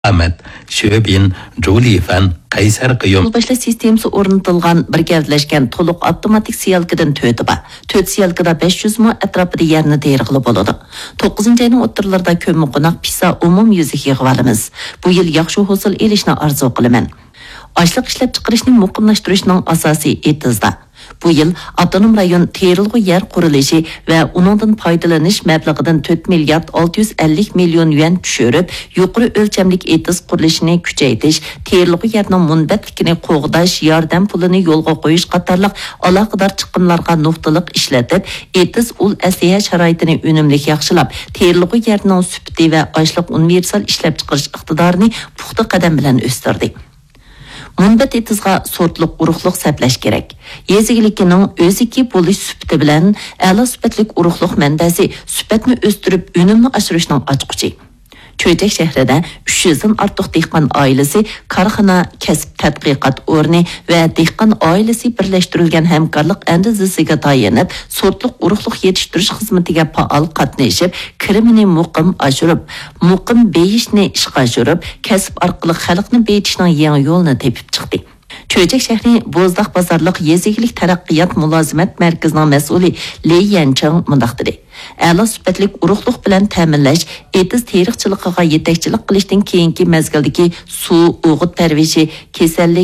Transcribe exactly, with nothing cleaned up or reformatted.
ئامەت، شۆبىن، جۇلىفەن، قەيسەر قىيۇم. پۇل باشلاش سىستېمىسى ئورنىتىلغان بىر گەۋدىلەشكەن تولۇق ئاپتوماتىك سېيالكىدىن تۆتى بار. تۆت سېيالكىدا بەش يۈز مو ئەتراپىدا يەرنى تېرىغىلى بولىدۇ. توققۇزىنچى ئاينىڭ ئوتتۇرىلىرىدا كۆممىقوناق پىسا ئومۇميۈزلۈك يىغىۋالىمىز. بۇ يىل ياخشى ھوسۇل ئېلىشنى ئارزۇ قىلىمەن. ئاشلىق ئىشلەپچىقىرىشنى مۇقىملاشتۇرۇشنىڭ ئاساسى ئېتىزدا. بۇ يىل ئاپتونوم رايون تېرىلغۇ يەر قۇرۇلۇشى ۋە ئۇنىڭدىن پايدىلىنىش مەبلىغىدىن تۆت مىليارد ئالتە يۈز ئەللىك مىليون يۈەن چۈشۈرۈپ، يۇقىرى ئۆلچەملىك ئېتىز قۇرۇلۇشىنى كۈچەيتىش، تېرىلغۇ يەرنىڭ مۇنبەتلىكىنى قوغداش، ياردەم پۇلىنى يولغا قويۇش قاتارلىق ئالاقىدار چىقىملارغا نۇقتىلىق ئىشلىتىپ، ئېتىز ئۇل ئەسلىھە شارائىتىنى ئۈنۈملۈك ياخشىلاپ، تېرىلغۇ يەرنىڭ سۈپىتى ۋە ئاشلىق ئۇنىۋېرسال ئىشلەپچىقىرىش ئىقتىدارىنى پۇختا قەدەم بىلەن ئۆستۈردى. مۇنبەت ئېتىزغا سورتلۇق ئۇرۇقلۇق سەپلەش كېرەك. يېزا ئىگىلىكىنىڭ ئۆزىكى بولۇش سۈپىتى بىلەن ئەلا سۈپەتلىك ئۇرۇقلۇق مەنبەسى سۈپەتنى ئۆستۈرۈپ، ئۈنۈمنى ئاشۇرۇشنىڭ ئاچقۇچى. چۆچەك شەھىرىدە ئۈچ يۈزدىن ئارتۇق دېھقان ئائىلىسى كارخانا، كەسىپ تەتقىقات ئورنى ۋە دېھقان ئائىلىسى بىرلەشتۈرۈلگەن ھەمكارلىق ئەندىزىسىگە تايىنىپ، سورتلۇق ئۇرۇقلۇق يېتىشتۈرۈش خىزمىتىگە پائال قاتنىشىپ، كىرىمىنى مۇقىم ئاشۇرۇپ، مۇقىم بېيىشنى ئىشقا ئاشۇرۇپ، كەسىپ ئارقىلىق خەلقنى بېيىتىشنىڭ يېڭى يولىنى تېپىپ چىقتى. چۆچەك شەھىرى بوزداق بازارلىق يېزا ئىگىلىك تەرەققىيات مۇلازىمەت مەركىزىنىڭ مەسئۇلى لى يەنچىڭ مۇنداق دېدى: ئەلا سۈپەتلىك ئۇرۇقلۇق بىلەن تەمىنلەش ئېتىز تېرىقچىلىقىغا يېتەكچىلىك قىلىشتىن كېيىنكى مەزگىلدىكى سۇ، ئوغۇت پەرۋىشى، كېسەللىك،